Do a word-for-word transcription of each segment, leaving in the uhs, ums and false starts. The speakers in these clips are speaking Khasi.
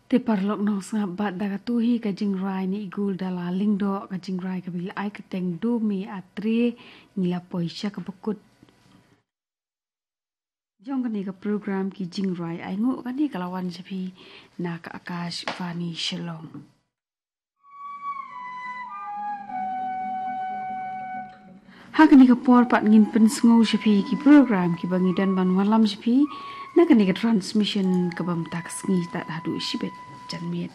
Te paralok nongsngap, bad da katu hi ka jingrwai na i Gul Dala Lyngdoh, ka jingrwai kaba la ai kyrteng Dome Atre, ngi la poi sha kaba kut. Jong kane ka program ki jingrwai ainguh, kane ka la wan sha phi na ka Akashvani Shillong. Ha kane ka por pat ngin pynsngew sha phi ki program kiba ngi don ban wallam sha phi na kane ka transmission kaba mynta ka sngi tad haduh shibit janmiet.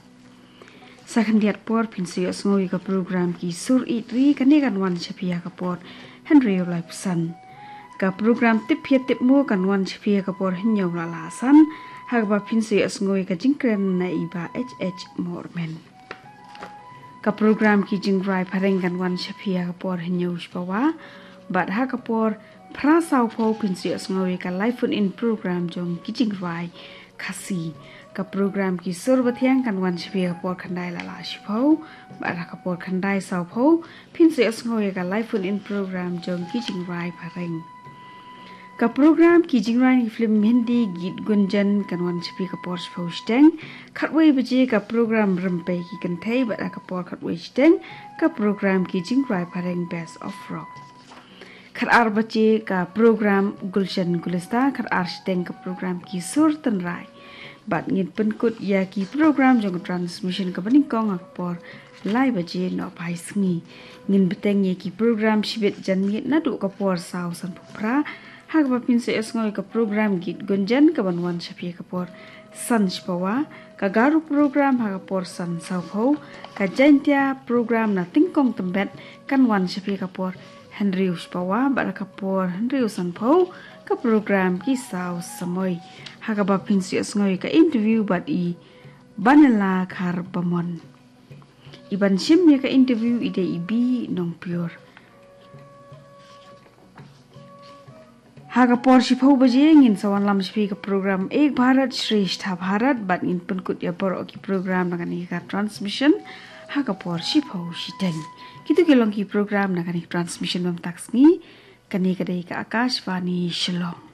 Sa khyndiat por phin sa ïohsngew ïa ka program Ki Sur Ïeit Ri, kane kan wan sha phi ha ka por hynriew laiphew san. Ka program Tip Hiar Tip Mo kan wan sha phi ha ka por hynñiew la la san, ha kaba phin sa ïohsngew ïa ka jingkren na i Bah H H Mormen. Ka program Ki Jingrwai Phareng kan wan sha phi ha ka por hynñiew shiphew, bad ha ka por phra sawphew phin sa ïohsngew ïa ka live phone in program jong ki jingrwai Khasi. Ka program Ki Sur Bathiang kan wan sha phi ha ka por khyndai la la shiphew, bad ha ka por khyndai sawphew phin sa ïohsngew ïa ka live phone in program jong ki jingrwai Phareng. Ka program Ki Jingrwai na ki film Hindi Geet Gunjan kan wan sha phi ka por shiphew shiteng. Khatwei baje ka program Rympei Ki Kynthei, bad ha ka por khatwei shiteng ka program Ki Jingrwai Phareng Best of Rock. Khatar baje ka program Gulshan Gulistan, khatar shiteng ka program Ki Sur Tynrai. Bad ngin pynkut ïa ki program jong ka transmission kaba nyngkong ha ka por lai baje nohphai sngi. Ngin bteng ïa ki program shibit janmiet naduh ka por saw sanphew phra, ha kaba phin sa ïohsngew ïa ka program Geet Gunjan kaban wan sha phi ha ka por san shiphew, ka Garo program ha ka por san sawphew, ka Jaintia program Na Tyngkong Tymbet kan wan sha phi ha ka por hynriew shiphew, bad ha ka por hynriew sanphew ka program Ki Saw Samoi, ha kaba phin sa ïohsngew ïa ka interview bad i Banela Kharbamon. I ban shim ïa ka interview i dei i Bi Nongpior. Ha ka por shiphew baje ngin sa wanlam sha phi ka program Ek Bharat Shreshtha Bharat, bad ngin pynkut ïa baroh ki program na kane ka transmission ha ka por shiphew shiteng. Kitu ki long ki program na kane ka transmission ba mynta ka sngi. Kane ka dei ka Akashvani Shillong.